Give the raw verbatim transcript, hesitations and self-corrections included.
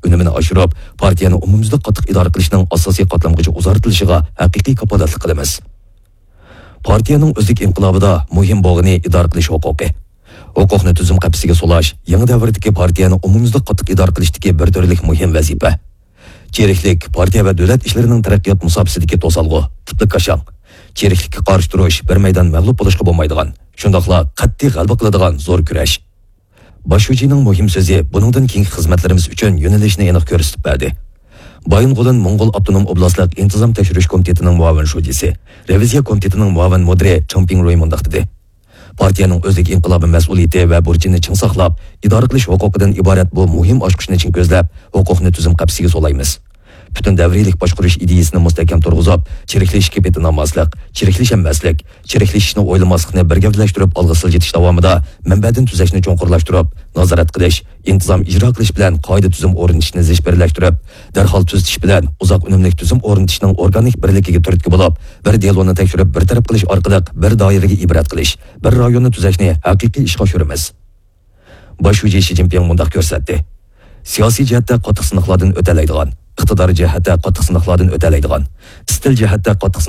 ئۈنۈمىنى ئاشۇرۇپ، پارتىيەنى ئومۇميۈزلۈك قاتتىق ئىدارە قىلىشنىڭ ئاساسىي قاتلامغىچە ئۇزارتىلىشىغا ھەقىقىي كاپالەتلىك قىلىمىز. پارتىيەنىڭ ئۆزلۈك ئىنقىلابىدا مۇھىم بولغىنى ئىدارە قىلىش ھوقۇقى. ھوقۇقنى تۈزۈم قەپىسىگە سولاش يېڭى دەۋردىكى پارتىيەنى ئومۇميۈزلۈك قاتتىق ئىدارە قىلىشتىكى بىر تۈرلۈك مۇھىم ۋەزىپە. چىرىكلىك پارتىيە ۋە دۆلەت ئىشلىرىنىڭ تەرەققىيات مۇساپىسىدىكى توسالغۇ، تىپلىك كاشاڭ. چىرىكلىككە قارشى تۇرۇش بىر مەيدان مەغلۇپ بولۇشقا بولمايدىغان، شۇنداقلا قەتئىي غەلىبە قىلىدىغان زور كۈرەش. باش شۇجىنىڭ مۇھىم سۆزى بۇنىڭدىن كېيىنكى خىزمەتلىرىمىز ئۈچۈن يۆنىلىشنى ئېنىق كۆرسىتىپ بەردى. بايىنغولىن موڭغۇل ئاپتونوم ئوبلاستلىق ئىنتىزام تەكشۈرۈش كومىتېتىنىڭ مۇئاۋىن شۇجىسى، رېۋىزىيە كومىتېتىنىڭ مۇئاۋىن مۇدىرى چېڭ پىڭرۇي مۇنداق دېدى: پارتىيەنىڭ ئۆزلۈك ئىنقىلابىي مەسئۇلىيىتى ۋە بۇرچىنى چىڭ ساقلاپ، ئىدارە قىلىش ھوقۇقىدىن ئىبارەت بۇ مۇھىم ئاچقۇچنى چىڭ كۆزلەپ، ھوقۇقنى تۈزۈم قەپىسىگە سولايمىز. پۈتۈن دەۋرىيلىك باشقۇرۇش ئىدىيىسىنى مۇستەھكەم تۇرغۇزۇپ، چىرىكلىشىشكە پېتىنالماسلىق، چىرىكلىشەلمەسلىك، چىرىكلىشىشنى ئويلىماسلىقنى بىر گەۋدىلەشتۈرۈپ ئالغا سىلجىتىش داۋامىدا مەنبەدىن تۈزەشنى چوڭقۇرلاشتۇرۇپ، نازارەت قىلىش، ئىنتىزام ئىجرا قىلىش بىلەن قائىدە تۈزۈم ئورنىتىشنى زىچ بىرلەشتۈرۈپ، دەرھال تۈزىتىش بىلەن ئۇزاق ئۈنۈملۈك تۈزۈم ئورنىتىشنىڭ ئورگانىك بىرلىكىگە تۈرتكە بولۇپ، بىر دېلونى تەكشۈرۈپ بىر تەرەپ قىلىش ئارقىلىق بىر دائىرىگە ئىبرەت قىلىش، بىر رايوننى تۈزەشنى ھەقىقىي ئىشقا ئاشۇرىمىز. باش شۇجى شى جىنپىڭ مۇنداق كۆرسەتتى: سىياسىي جەھەتتە قاتتىق سىناقلاردىن ئۆتەلەيدىغان، ئىقتىدارىي جەھەتتە قاتتىق سىناقلاردىن ئۆتەلەيدىغان، ئىستىل جەھەتتە قاتتىق